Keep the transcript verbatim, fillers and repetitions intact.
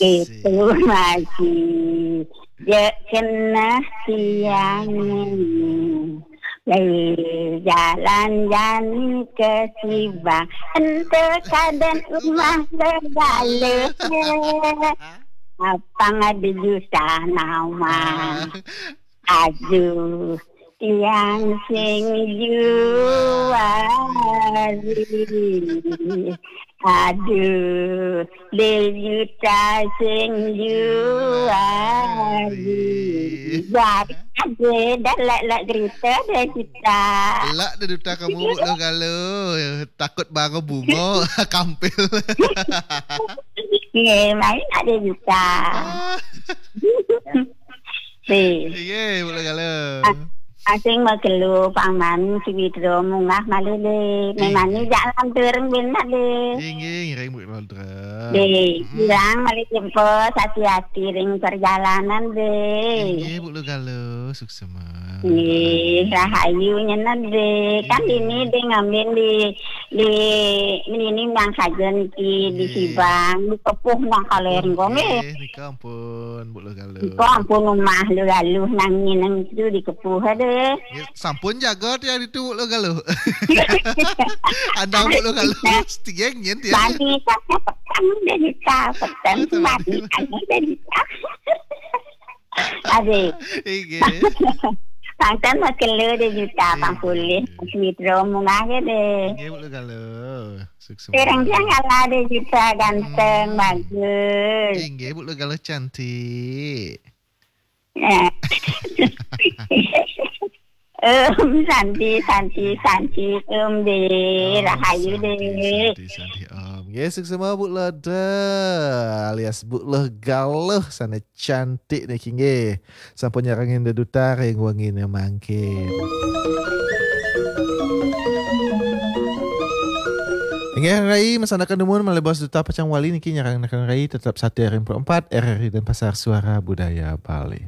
Itu masih je kena tiang. Lai jalan jani ke Sibang, ente kaden rumah segala. Apang ada juta nama. Aduh, tiang sing juari. Aduh, de juta sing juari. Jadi ada dah lak-lak cerita dah kita. Lak dah duta kamu, Bu Loh Galo. Takut baru bungo kampil. Ye, main ada juta. Ye, Bu Loh Galo. Asing magelu paman si Widro mungah malih de. Memani jak lantur benak de. Inggih, ngiring Bu Loh. Dek, bilang malih jempol, hati-hati ring perjalanan, Dek. Inggih, Bu Loh Galo, suksema. Nggih, rahayu nyenan, Dek. Kan ini, Dek, ngambil di, di, ini nang saja niki di Sibang, di Kepuh nang kalereng kok, nggih. Nggih, nika ampun, Bu Loh Galo. Nika ampun, umah Loh Galo nang nyeneng itu di Kepuh, Dek. Nggih, sampun jaga tiang ditu, Bu Loh Galo. Andang Bu Loh Galo, tiang nyen tiang. Bani tak petang udah juta, petang bani udah juta. Adik. Inggih. Pangkan makelo udah juta, pang pulih. Widro mungah ya deh. Inggih, Bu Loh Galo. Sukses. Terang tiang kalah udah juta, ganteng, bagus. Inggih, Bu Loh Galo cantik. Eh. Em, santi, santi, santi, em, deh, rahayu, deh. Santi, santi, Om. Nggih, suksema, Bu Loh. Alias Bu Loh Galo, sane cantik niki, nggih. Sampun nyarengin deduta ring wengine mangkin. Inggih, Rai, masanaken dumun malih bos duta pacang wali niki nyarengin Rai tetap satia ring empat R R I Denpasar, Suara Budaya Bali.